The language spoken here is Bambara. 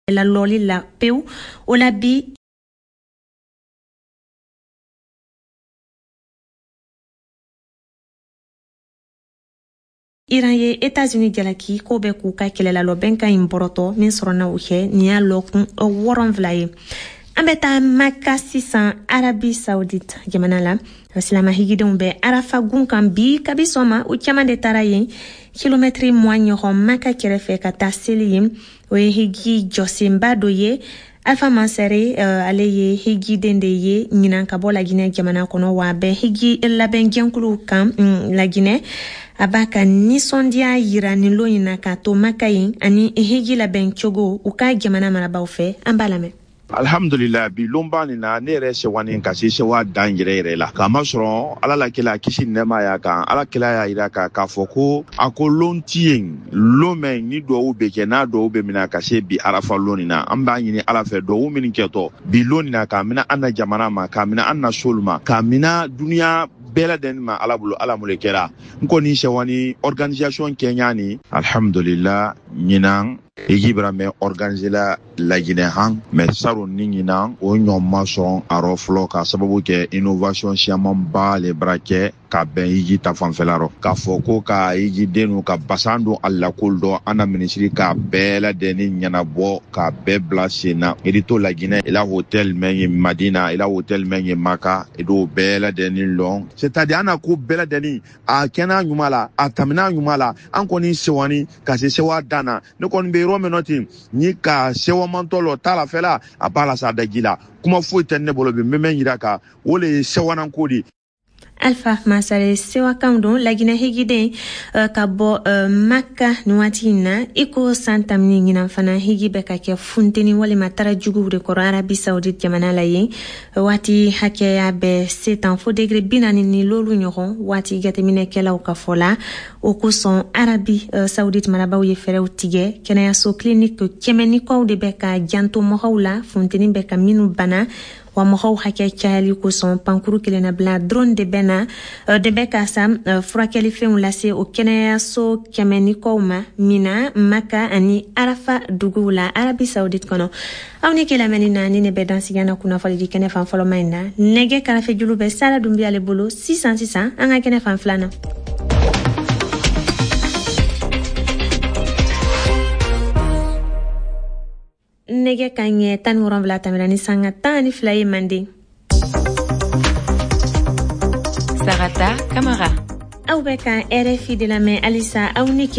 Lalɔli la pewu. O la bi, Iran ye Etats-Unis jalaki ko bɛ k'u ka kɛlɛlalɔ bɛnkan in bɔrɔtɔ min sɔrɔna o kɛ nin y'a lɔkun 7 ye. An bɛ taa Maka sisan, Arabi Saoudite jamana la. Silama higidenw bɛ Arafa gun kan bi. Kabi sɔgɔma, u caman de taara yen, kilomɛtiri 20 ɲɔgɔn Maka kɛrɛfɛ, ka taa seli yen. O ye hiji jɔsenba dɔ ye. Alpha Mansare, ale ye hijiden de ye ɲinan ka bɔ Laginɛ jamana kɔnɔ, wa a bɛ hiji labɛn jɛnkuluw kan Laginɛ. A b'a ka nisɔndiya yira nin lon in na k'a to Maka yen ani hiji labɛn cogo u ka jamana marabaw fɛ. An b'a lamɛn. Alhamdulillah, bi lonba nin na, ne yɛrɛ sewani ka se sewa dan yɛrɛ yɛrɛ la, k'a masɔrɔ Ala la kila, kisi nɛɛma y'a kan, Ala kila y'a yira k'a fɔ ko a ko lon ti yen, lon mɛn ni duwawu bɛ kɛ, n'a duwawu bɛ mina ka se bi Arafa lon nin na. An b'a ɲini Ala fɛ, duwawu minnu kɛtɔ bi lon nin na, k'a mina an na jamana ma, k'a mina an na solu ma, k'a mina duniya bɛɛ ladɛnni ma, Ala bolo, Ala mun le kɛra. N kɔni sewani organisation kɛɲa ni, alhamdulillah, ɲinan hiji bara mɛn organiser la Laginɛ han, mais saron ni ɲinan o ɲɔgɔn ma sɔn a rɔ fɔlɔ, k'a sababu kɛ innovation siyamanba le bara kɛ ka bɛn hiji ta fanfɛla rɔ, k'a fɔ ko ka hijiden ka basan don a lakol dɔ, an na minisiri k'a bɛɛ ladɛnni ɲɛnabɔ, k'a bɛɛ bila sen na. I to Laginɛ, i la hotel mɛn ye Madina, i la hotel mɛn ye Maka, i d'o bɛɛ ladɛnni lɔn. C'est à dire an na ko bɛɛ ladɛnni a kɛnɛ ɲuman la, a tamina ɲuman la. An kɔni sewani ka se sewa dan na. Ne kɔni bɛ yɔrɔ min nɔ ten ni ka sewamantɔ lɔ t'a la fɛ la, a b'a la sa daji la. Kuma foyi tɛ ne bolo bi, n bɛ mɛn yira kan, o le ye sewananko de. Alpha Masare sewakanw don, Laginɛ higiden ka bɔ Maka nin waati in na. I ko san tamini, ɲinan fana higi bɛ ka kɛ funteni walima tara juguw de kɔrɔ Arabi Saoudite jamana la yen. Waati hakɛya bɛ se tan fo degré 40 ni lolu ɲɔgɔn, waati jateminɛkɛlaw ka fɔ la. O kosɔn, Arabi Saoudite marabaw ye fɛɛrɛw tigɛ. Kɛnɛyaso clinique 100 ni kɔw de bɛ ka janto mɔgɔw la, funteni bɛ ka minnu bana. Wa mɔgɔw hakɛ cayali kosɔn, pankuru kelenna bila drone de bɛ na de bɛ ka sa furakɛlifɛnw lase o kɛnɛyaso 100 ni kɔw ma Mina, Maka ani Arafa duguw la Arabi Saoudite kɔnɔ. Aw ni ke lamɛnni na ni ne bɛ dansigi na kunnafoni di kɛnɛ fan fɔlɔma in na. Nɛgɛ karafe julu bɛ Sara Dunbiya le bolo sisan sisan. An ka kɛnɛ fan filanan. Nɛgɛ ka ɲɛ 17 tɛmɛna ni sanga 12 ye manden. Sarata Kamara. Aw bɛ ka RFI de lamɛn halisa. Aw ni ke.